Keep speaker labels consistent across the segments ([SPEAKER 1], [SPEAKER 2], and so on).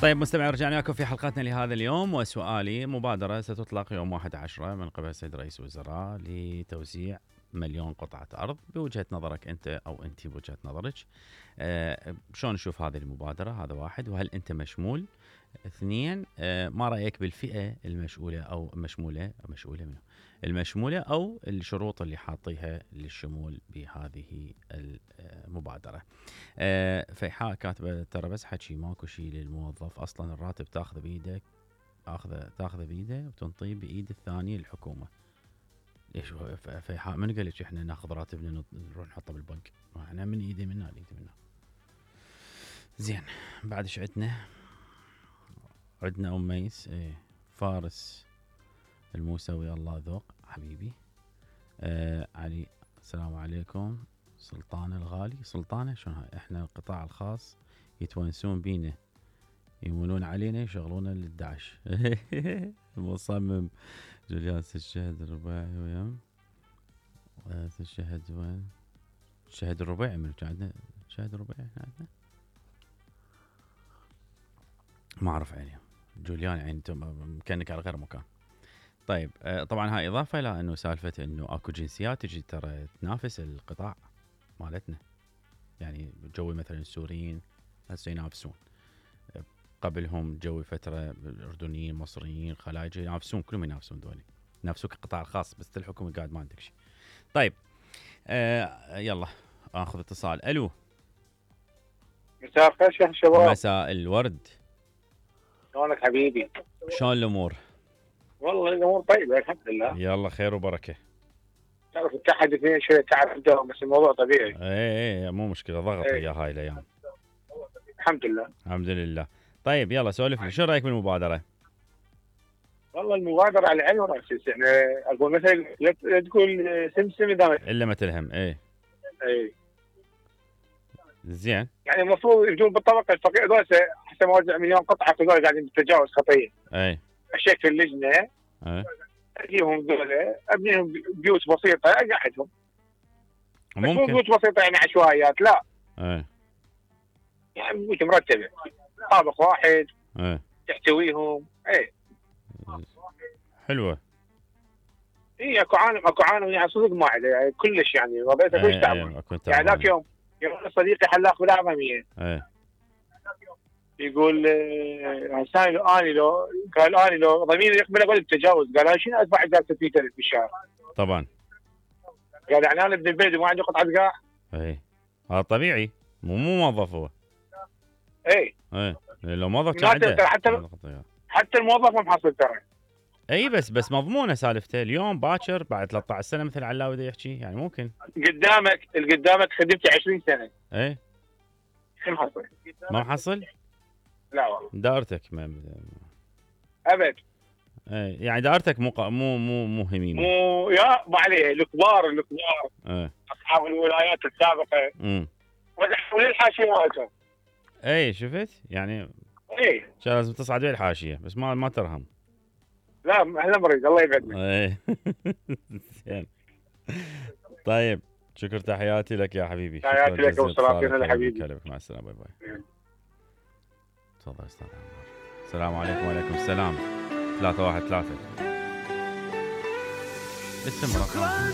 [SPEAKER 1] طيب مستمعين، رجعنا لكم في حلقتنا لهذا اليوم، وسؤالي: مبادرة ستطلق يوم 11 من قبل السيد رئيس الوزراء لتوزيع 1,000,000 قطعة أرض. بوجهة نظرك أنت أو أنت بوجهة نظرك شلون نشوف هذه المبادرة؟ هذا واحد. وهل أنت مشمول؟ اثنين، ما رأيك بالفئة المشؤولة أو المشمولة أو الشروط اللي حاطيها للشمول بهذه المبادرة؟ فيحاء كاتبة: ترى بس حكي، ماكو شيء للموظف، أصلا الراتب تاخذه بإيدك، تاخذه بإيده وتنطيه بإيد الثانية الحكومة. ليش فيحاء؟ من قال لك احنا ناخذ راتبنا نروح نحطه بالبنك؟ احنا من ايدي منا لإيدي منا. زين، بعد ايش عندنا أم ميس، فارس الموسوي، الله ذوق حبيبي. علي: السلام عليكم سلطانة الغالي. سلطانة شلون هاي؟ احنا القطاع الخاص يتونسون بينا، يمولون علينا، يشغلونا للدعش. المصمم جوليان الشهد الرباعي ويم الشهد وين؟ الشهد الرباعي من عندنا، الشهد الرباعي احنا عندنا، ما اعرف عليه جوليان، يعني انتم كانك على غير مكان. طيب طبعا هاي اضافه الى انه سالفه انه اكو جنسيات تجي ترى تنافس القطاع مالتنا، يعني جوي مثلا السوريين هسه ينافسون، قبلهم جوي فتره الاردنيين، مصريين، خلايجه ينافسون، كلهم ينافسون، دولي ينافسوك القطاع الخاص، بس الحكومه قاعد ما عندك شيء. طيب يلا اخذ اتصال. الو،
[SPEAKER 2] مساء الخير شيخ الشباب.
[SPEAKER 1] مساء الورد،
[SPEAKER 2] شلونك حبيبي؟
[SPEAKER 1] شلون الامور؟
[SPEAKER 2] والله الامور طيبه الحمد لله.
[SPEAKER 1] يلا خير وبركه.
[SPEAKER 2] تعرف التحدي فيها شويه تعب عندهم، بس الموضوع طبيعي.
[SPEAKER 1] ايه مو مشكله، ضغط ويا هاي الايام.
[SPEAKER 2] الحمد لله
[SPEAKER 1] الحمد لله. طيب يلا سولف لي، شو رايك بالمبادره؟
[SPEAKER 2] والله المبادره على عيني وراسي، يعني اقول مثلا لا تقول سمسم
[SPEAKER 1] الا ما تلهم. اي زين،
[SPEAKER 2] يعني المفروض يجون بالطبقه الفقيره ذول، حتى موزع 1,000,000 قطعه في ذول قاعدين بتجاوز خطيه.
[SPEAKER 1] اي
[SPEAKER 2] اشيك في اللجنه، اجيبهم ذولا، ابنيهم بيوت بسيطه، اقعدهم. مو بيوت بسيطه يعني عشوائيات، لا. يعني بيوت مرتبه، طابق واحد، تحتويهم.
[SPEAKER 1] حلوه.
[SPEAKER 2] اكو عالم يعني صدق ما عليه، يعني كلش، يعني وضعيته كلش تعبان. يعني ذاك يوم صديقي حلاق بالأعظمية، يقول حسان اني لو ضميري يقبل اقول التجاوز، قال انا شنو ادفع 60,000 بالشهر؟
[SPEAKER 1] طبعا.
[SPEAKER 2] قال يعني انا ابن البلد وما عندي قطعه قاع.
[SPEAKER 1] هذا طبيعي، مو موظف هو. لو موظف كان عنده
[SPEAKER 2] حتى الموظف ما محصل ترى.
[SPEAKER 1] بس مضمونه سالفته، اليوم باكر بعد 13 سنه مثل علاوي دا يحكي، يعني ممكن
[SPEAKER 2] قدامك خدمتي 20 سنه. شو محصل؟
[SPEAKER 1] ما محصل؟
[SPEAKER 2] لا والله.
[SPEAKER 1] دائرتك
[SPEAKER 2] ابد.
[SPEAKER 1] يعني دائرتك مو هميمه.
[SPEAKER 2] مو يا ما عليه، الكبار اصحاب الولايات السابقه وزحوا الحاشيه مالتهم.
[SPEAKER 1] شفت يعني. لازم تصعد بيه الحاشيه، بس ما ترهم.
[SPEAKER 2] لا احنا مريض، الله يبعدنا.
[SPEAKER 1] زين. طيب شكر، تحياتي لك يا حبيبي.
[SPEAKER 2] تحياتي لك وصلاتنا حبيبي.
[SPEAKER 1] مع السلامه، باي باي. تفضل استاذ عمار. السلام عليكم. وعليكم السلام. 313 اسم رقم.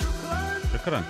[SPEAKER 1] شكرا.